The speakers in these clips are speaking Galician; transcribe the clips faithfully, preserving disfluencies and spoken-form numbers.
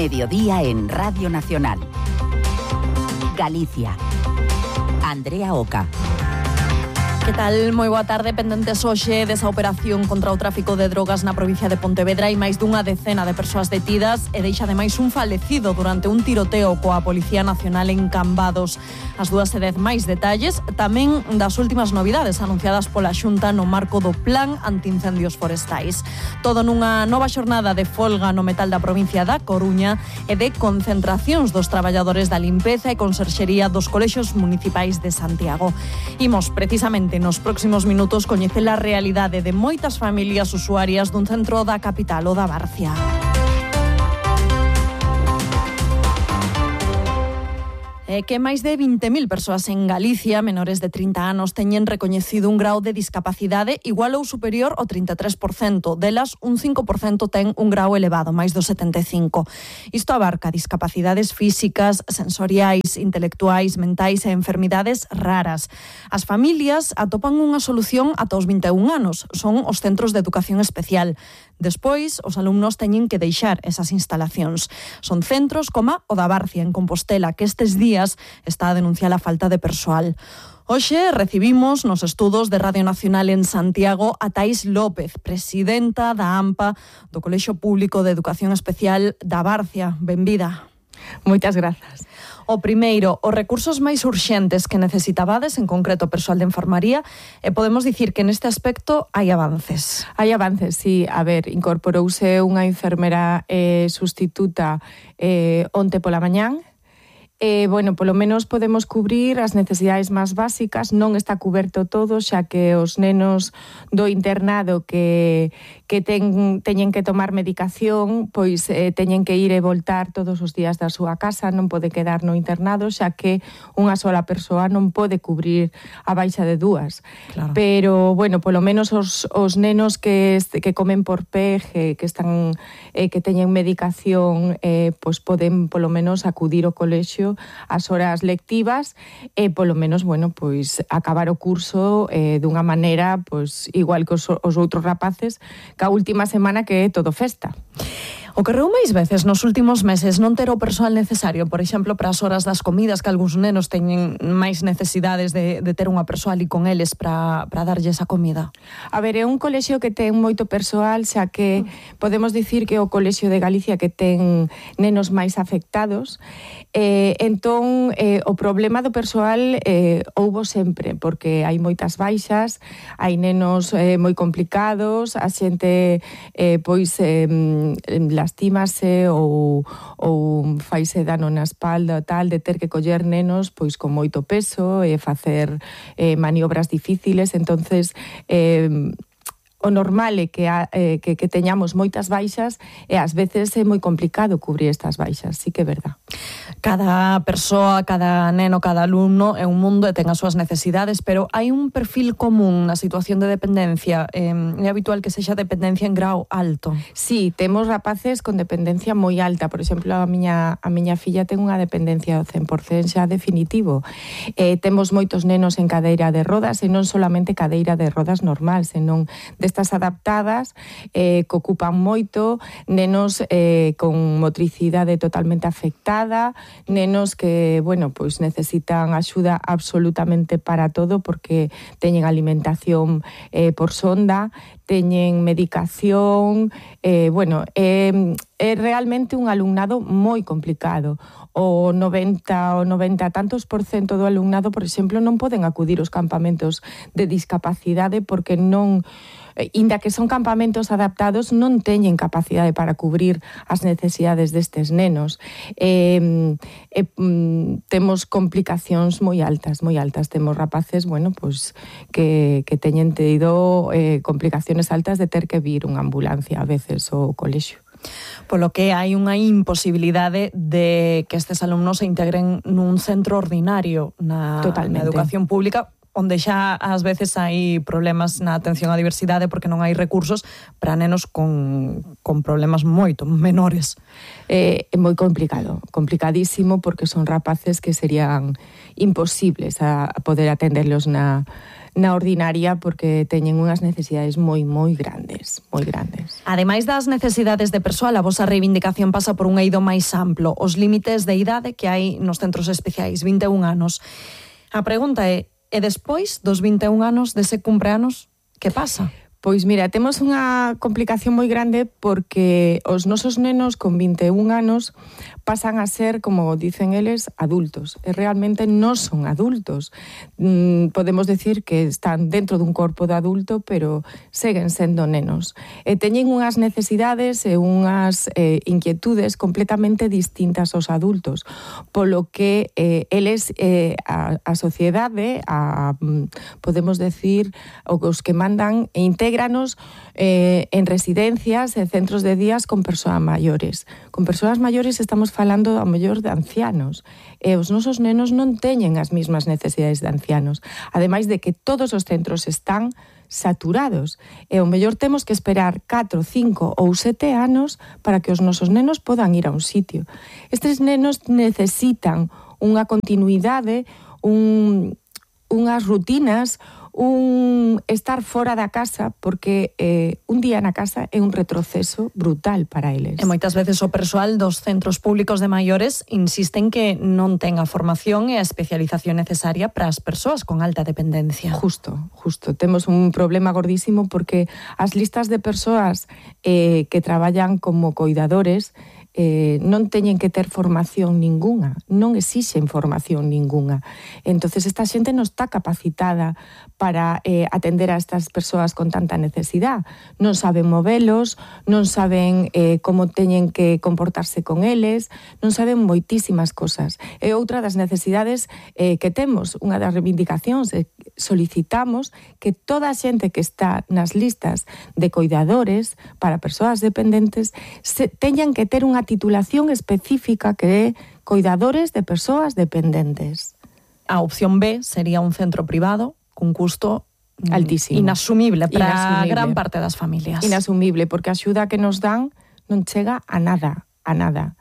Mediodía en Radio Nacional. Galicia. Andrea Oca. Que tal? Moi boa tarde. Pendentes hoxe desa operación contra o tráfico de drogas na provincia de Pontevedra e máis dunha decena de persoas detidas e deixa ademais un falecido durante un tiroteo coa Policía Nacional en Cambados. As dúas e dez máis detalles tamén das últimas novidades anunciadas pola Xunta no marco do Plan Antiincendios Forestais. Todo nunha nova xornada de folga no metal da provincia da Coruña e de concentracións dos traballadores da limpeza e conserxería dos colexios municipais de Santiago. Imos precisamente nos próximos minutos coñecer a realidade de moitas familias usuarias dun centro da capital o da Barcia. É que máis de vinte mil persoas en Galicia, menores de trinta anos, teñen recoñecido un grau de discapacidade igual ou superior ao trinta e tres por cento. Delas, un cinco por cento ten un grau elevado, máis do setenta e cinco por cento. Isto abarca discapacidades físicas, sensoriais, intelectuais, mentais e enfermidades raras. As familias atopan unha solución ata os vinte e un anos. Son os centros de educación especial. Despois, os alumnos teñen que deixar esas instalacións. Son centros como o da Barcia, en Compostela, que estes días está a denunciar a falta de persoal. Hoxe recibimos nos estudos de Radio Nacional en Santiago a Thais López, presidenta da AMPA, do Colexio Público de Educación Especial da Barcia. Benvida. Moitas grazas. O primeiro, os recursos máis urxentes que necesitabades, en concreto persoal de enfermaría, e podemos dicir que neste aspecto hai avances. Hai avances, sí. A ver, incorporouse unha enfermera eh, sustituta eh, onte pola mañán. Eh, bueno, polo menos podemos cubrir as necesidades máis básicas. Non está cuberto todo, xa que os nenos do internado que, que ten, teñen que tomar medicación, pois eh, teñen que ir e voltar todos os días da súa casa, non pode quedar no internado, xa que unha sola persoa non pode cubrir a baixa de dúas. Claro. Pero, bueno, polo menos os, os nenos que, que comen por P E G, que están eh, que teñen medicación, eh, pois poden polo menos acudir ao colexio as horas lectivas e polo menos, bueno, pois acabar o curso eh, dunha maneira pois igual que os, os outros rapaces, que a última semana que é todo festa. Ocorreu máis veces nos últimos meses non ter o persoal necesario, por exemplo, para as horas das comidas, que algúns nenos teñen máis necesidades de, de ter unha persoa ali con eles para, para darlles a comida? A ver, é un colexio que ten moito persoal, xa que podemos dicir que é o colexio de Galicia que ten nenos máis afectados. Eh, entón, eh, o problema do persoal eh, houbo sempre, porque hai moitas baixas, hai nenos eh, moi complicados, a xente eh, pois eh, lastímase ou, ou faise dano na espalda tal, de ter que coller nenos pois con moito peso e facer eh, maniobras difíciles. Entonces eh, o normal é que, a, eh, que, que teñamos moitas baixas e ás veces é moi complicado cubrir estas baixas, sí que é verdad. Cada persoa, cada neno, cada alumno é un mundo e ten as súas necesidades, pero hai un perfil común na situación de dependencia. Eh, é habitual que sexa dependencia en grau alto. Sí, temos rapaces con dependencia moi alta. Por exemplo, a miña, a miña filla ten unha dependencia do cen por cento xa definitivo. Eh, temos moitos nenos en cadeira de rodas, e non solamente cadeira de rodas normal, senón destas adaptadas, eh, que ocupan moito, nenos eh, con motricidade totalmente afectada, nenos que, bueno, pois necesitan axuda absolutamente para todo, porque teñen alimentación eh, por sonda, teñen medicación, eh, bueno, é, é realmente un alumnado moi complicado. O noventa o noventa tantos por cento do alumnado, por exemplo, non poden acudir aos campamentos de discapacidade porque non, inda que son campamentos adaptados, non teñen capacidade para cubrir as necesidades destes nenos. Eh, eh, temos complicacións moi altas, moi altas. Temos rapaces, bueno, pues, que, que teñen tido eh, complicacións altas de ter que vir unha ambulancia a veces ao colexio. Polo que hai unha imposibilidade de que estes alumnos se integren nun centro ordinario na, na educación pública, onde xa ás veces hai problemas na atención á diversidade porque non hai recursos para nenos con, con problemas moito menores. É, é moi complicado, complicadísimo, porque son rapaces que serían imposibles a, a poder atenderlos na, na ordinaria, porque teñen unhas necesidades moi, moi grandes, moi grandes. Ademais das necesidades de persoal, a vosa reivindicación pasa por un eido máis amplo, os límites de idade que hai nos centros especiais, vinte e un anos. A pregunta é, e despois dos vinte e un anos, dese cumpleanos, que pasa? Pois mira, temos unha complicación moi grande porque os nosos nenos con vinte e un anos pasan a ser, como dicen eles, adultos. E realmente non son adultos. Mm, podemos decir que están dentro dun corpo de adulto, pero seguen sendo nenos. E teñen unhas necesidades e unhas eh, inquietudes completamente distintas aos adultos, polo que eh, eles, eh, a, a sociedade, a, podemos decir, os que mandan e intégranos eh, en residencias e centros de días con persoas maiores. Con persoas maiores estamos falando ao mellor de ancianos, e os nosos nenos non teñen as mesmas necesidades de ancianos, ademais de que todos os centros están saturados, e ao mellor temos que esperar catro, cinco ou sete anos para que os nosos nenos podan ir a un sitio. Estes nenos necesitan unha continuidade, un, unhas rutinas, un estar fora da casa, porque eh, un día na casa é un retroceso brutal para eles. E moitas veces o persoal dos centros públicos de maiores insisten que non ten a formación e a especialización necesaria para as persoas con alta dependencia. Justo, justo. Temos un problema gordísimo porque as listas de persoas eh, que traballan como coidadores Eh, non teñen que ter formación ninguna, non exixen formación ninguna. Entonces esta xente non está capacitada para eh, atender a estas persoas con tanta necesidade. Non saben movelos, non saben eh, como teñen que comportarse con eles, non saben moitísimas cosas. E outra das necesidades eh, que temos, unha das reivindicacións, eh, solicitamos que toda a xente que está nas listas de coidadores para persoas dependentes se, teñan que ter unha titulación específica que é coidadores de persoas dependentes. A opción B sería un centro privado cun custo altísimo, inasumible para inasumible. gran parte das familias. Inasumible, porque a axuda que nos dan non chega a nada, a nada.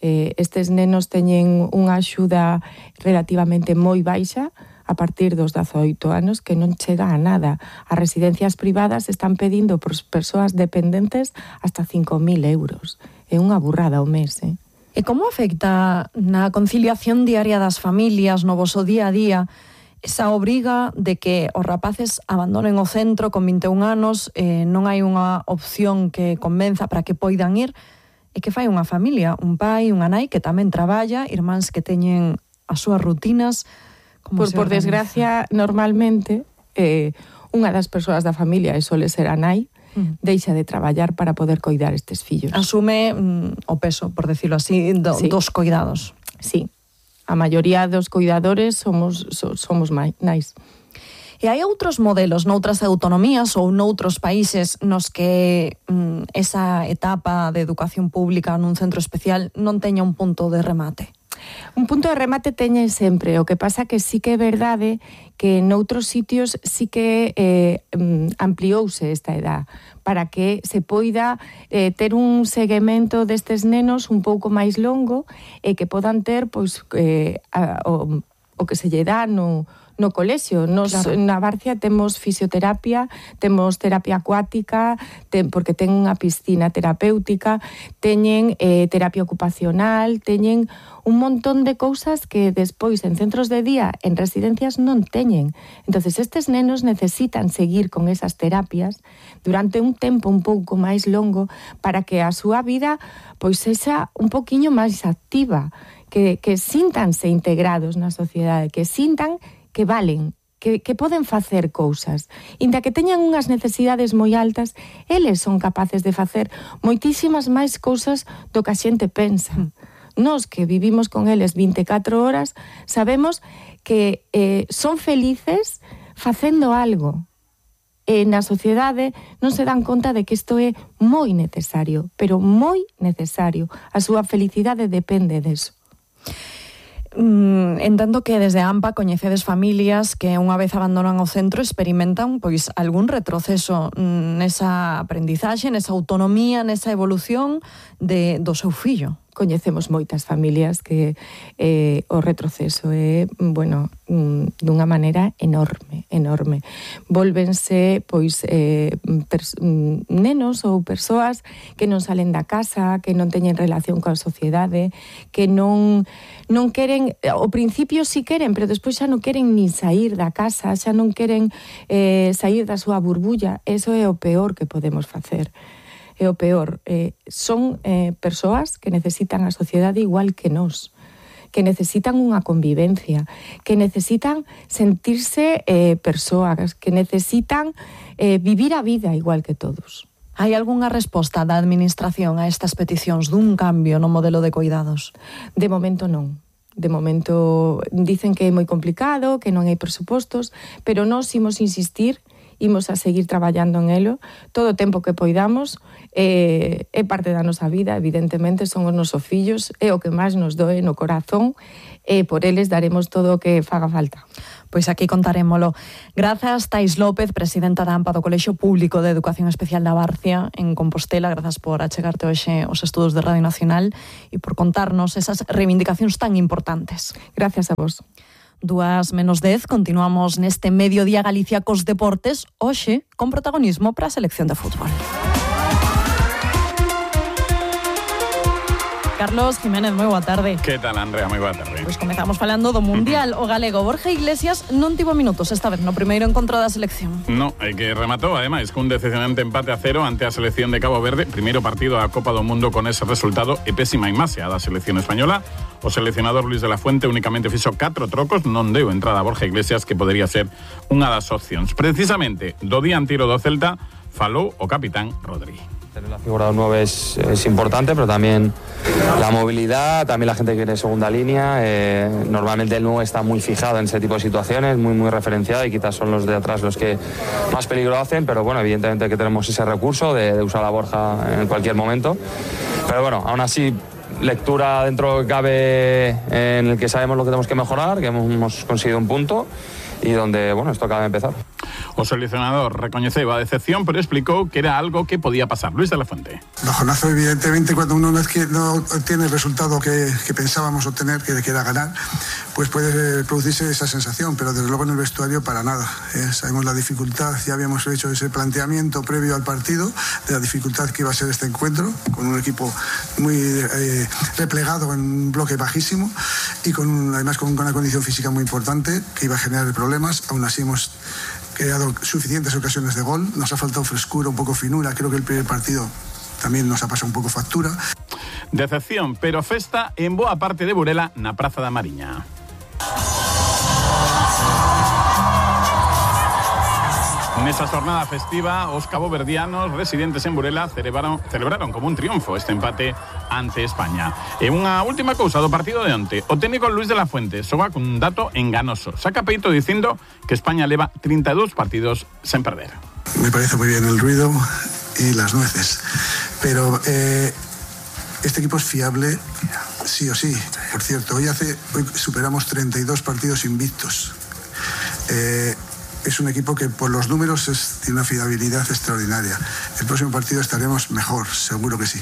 Eh, estes nenos teñen unha axuda relativamente moi baixa a partir dos dezaoito anos, que non chega a nada. As residencias privadas están pedindo por persoas dependentes hasta cinco mil euros. É unha burrada ao mes, eh? E como afecta na conciliación diaria das familias, no voso día a día, esa obriga de que os rapaces abandonen o centro con vinte e un anos, eh, non hai unha opción que convenza para que poidan ir, e que fai unha familia, un pai, unha nai que tamén traballa, irmáns que teñen as súas rutinas. Por, por desgracia, normalmente, eh, unha das persoas da familia, e sole ser a nai, mm. deixa de traballar para poder coidar estes fillos. Asume mm, o peso, por decirlo así, do, sí. dos coidados. Sí, a maioría dos coidadores somos, so, somos nais. E hai outros modelos noutras autonomías ou noutros países nos que mm, esa etapa de educación pública nun centro especial non teña un punto de remate? Un punto de remate teñen sempre, o que pasa que sí que é verdade que noutros sitios sí que eh, ampliouse esta edad para que se poida eh, ter un seguimento destes nenos un pouco máis longo e que podan ter pois eh, a, o, o que se lle dá no no colexio. Nos, claro. Na Barcia temos fisioterapia, temos terapia acuática, ten, porque ten unha piscina terapéutica, teñen eh, terapia ocupacional, teñen un montón de cousas que despois en centros de día, en residencias, non teñen. Entonces estes nenos necesitan seguir con esas terapias durante un tempo un pouco máis longo para que a súa vida pois sexa un poquiño máis activa, que, que síntanse integrados na sociedade, que sintan que valen, que, que poden facer cousas. Inda que teñan unhas necesidades moi altas, eles son capaces de facer moitísimas máis cousas do que a xente pensa. Mm. Nos que vivimos con eles vinte e catro horas, sabemos que eh, son felices facendo algo. E na sociedade non se dan conta de que isto é moi necesario, pero moi necesario. A súa felicidade depende deso. Mm, entendo que desde a AMPA coñecedes familias que unha vez abandonan o centro experimentan pois algún retroceso nesa aprendizaxe, nesa autonomía, nesa evolución de, do seu fillo. Coñecemos moitas familias que eh, o retroceso é, bueno, dunha maneira enorme, enorme. Volvense, pois, eh, pers- nenos ou persoas que non salen da casa, que non teñen relación coa sociedade, que non, non queren, ao principio sí queren, pero despois xa non queren nin sair da casa, xa non queren eh, sair da súa burbulla. Eso é o peor que podemos facer. É o peor. Eh, son eh, persoas que necesitan a sociedade igual que nós, que necesitan unha convivencia, que necesitan sentirse eh, persoas, que necesitan eh, vivir a vida igual que todos. Hai algunha resposta da Administración a estas peticións dun cambio no modelo de coidados? De momento non. De momento dicen que é moi complicado, que non hai presupostos, pero nós imos insistir, imos a seguir traballando en elo todo o tempo que poidamos. É, é parte da nosa vida, evidentemente, son os nosos fillos, é o que máis nos doe no corazón, e por eles daremos todo o que faga falta. Pois aquí contarémolo. Grazas, Tais López, presidenta da AMPA do Colexio Público de Educación Especial da Barcia en Compostela. Grazas por achegarte hoxe aos estudos de Radio Nacional e por contarnos esas reivindicacións tan importantes. Gracias a vos. Dúas menos dez, continuamos neste Mediodía Galicia cos deportes, hoxe con protagonismo para a selección de fútbol. Carlos Jiménez, moi boa tarde. Que tal, Andrea? Moi boa tarde. Pois comezamos falando do Mundial. O galego Borja Iglesias non tivo minutos esta vez no primeiro encontro da selección. No, é que rematou, ademais, cun decepcionante empate a cero ante a selección de Cabo Verde. Primeiro partido da Copa do Mundo con ese resultado e pésima imaxe a da selección española. O seleccionador Luis de la Fuente únicamente fixo catro trocos, non deu entrada a Borja Iglesias, que podería ser unha das opcións. Precisamente, do dianteiro do Celta, falou o capitán Rodri. Tener la figura de un nueve es, es importante, pero también la movilidad, también la gente que viene de segunda línea. Eh, normalmente el nueve está muy fijado en ese tipo de situaciones, muy muy referenciado, y quizás son los de atrás los que más peligro hacen, pero bueno, evidentemente que tenemos ese recurso de, de usar a Borja en cualquier momento. Pero bueno, aún así, lectura dentro que cabe, en el que sabemos lo que tenemos que mejorar, que hemos conseguido un punto y donde, bueno, esto acaba de empezar. O seleccionador recoñeceu a decepción, pero explicou que era algo que podía pasar. Luis de la Fuente. Bajonazo, evidentemente, cuando uno no, es que no obtiene el resultado que, que pensábamos obtener, que, que era ganar, pues puede producirse esa sensación, pero desde luego en el vestuario para nada. Eh, sabemos la dificultad, ya habíamos hecho ese planteamiento previo al partido, de la dificultad que iba a ser este encuentro, con un equipo muy eh, replegado en un bloque bajísimo y con además con una condición física muy importante que iba a generar problemas. Aún así hemos creado suficientes ocasiones de gol, nos ha faltado frescura, un poco finura, creo que el primer partido también nos ha pasado un poco factura. Decepción, pero festa en boa parte de Burela na Praza da Mariña. Nesa jornada festiva, os caboverdianos residentes en Burela celebraron, celebraron como un triunfo este empate ante España. E unha última cousa do partido de onte. O técnico Luis de la Fuente soba cun dato enganoso. Saca peito dicindo que España leva treinta e dous partidos sen perder. Me parece muy bien el ruido y las nueces, pero eh, este equipo es fiable sí o sí. Por cierto, hoy, hace, hoy superamos treinta y dos partidos invictos. Eh, Es un equipo que por los números es, tiene una fiabilidad extraordinaria. El próximo partido estaremos mejor, seguro que sí.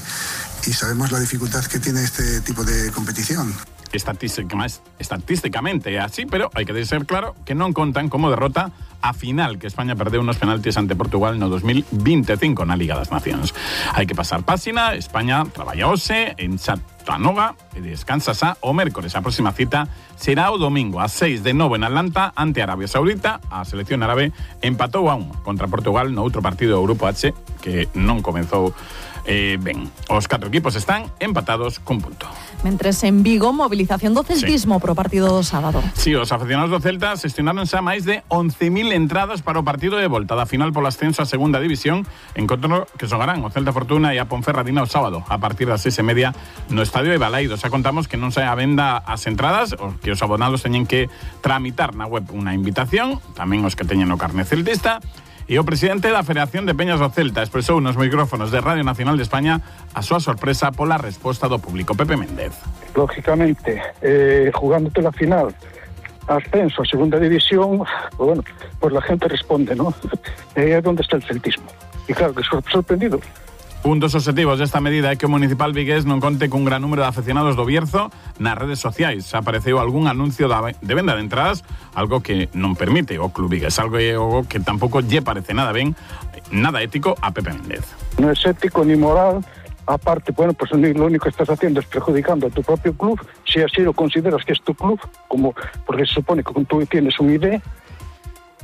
Y sabemos la dificultad que tiene este tipo de competición. Estatísticamente é así, pero hai que ser claro que non contan como derrota a final que España perdeu unos penaltis ante Portugal no dos mil veinticinco na Liga das Nacións. Hai que pasar páxina, España traballa hoxe en Chattanooga e descansa xa o mércores. A próxima cita será o domingo a seis de novo en Atlanta ante Arabia Saudita. A selección árabe empatou a un contra Portugal no outro partido do Grupo H que non comezou Eh, ben, os catro equipos están empatados cun punto. Mentres en Vigo, movilización do celtismo sí. Pro partido do sábado. Si, sí, os aficionados do Celta xestionaron xa máis de once mil entradas para o partido de volta da final polo ascenso a segunda división, encontro que xogarán o Celta Fortuna e a Ponferradina o sábado a partir das seis e media no Estadio de Balaído. Xa contamos que non sai a venda as entradas, os que os abonados teñen que tramitar na web unha invitación, tamén os que teñen o carné celtista. E o presidente da Federación de Peñas do Celta expresou nos micrófonos de Radio Nacional de España a súa sorpresa pola resposta do público. Pepe Méndez. Lógicamente, eh, jugándote la final, ascenso a segunda división, pues bueno, pues la gente responde, ¿no? Eh, é onde está el celtismo. E claro que sor sorprendido. Un dos obxectivos desta medida é que o municipal vigués non conte cun gran número de afeccionados do Bierzo nas redes sociais. Apareceu algún anuncio de venda de entradas, algo que non permite o club vigués, algo que tampouco lle parece nada ben, nada ético a Pepe Méndez. Non é ético ni moral, aparte, bueno, pues lo único que estás haciendo es perjudicando a tu propio club, si así lo consideras que es tu club, como porque se supone que tú tienes un I D,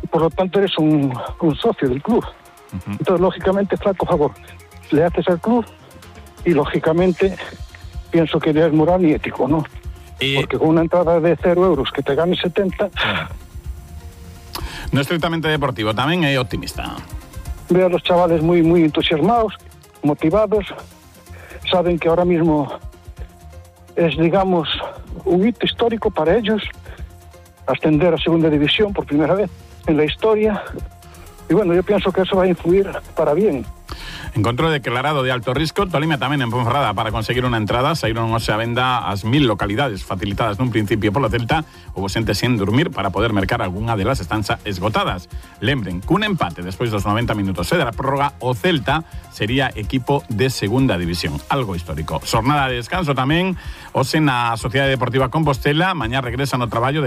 y por lo tanto eres un, un socio del club. Uh-huh. Entonces, lógicamente, flaco favor le haces al club y, lógicamente, pienso que no es moral ni ético, ¿no? Y... Porque con una entrada de cero euros que te ganes setenta... No estrictamente deportivo, tamén é optimista. Veo a los chavales muy, muy entusiasmados, motivados, saben que ahora mismo es, digamos, un hito histórico para ellos, ascender a segunda división por primera vez en la historia. Y bueno, yo pienso que eso va a influir para bien. Encontro declarado de alto risco, Tolima tamén en Ponferrada para conseguir unha entrada, saíron hoxe a venda as mil localidades facilitadas nun principio polo Celta, houbo xente sen dormir para poder mercar algunha delas estanza esgotadas. Lembren, cun empate despois dos noventa minutos e da prórroga, o Celta sería equipo de segunda división, algo histórico. Xornada de descanso tamén, hoxe na Sociedade Deportiva Compostela, mañá regresan ao traballo de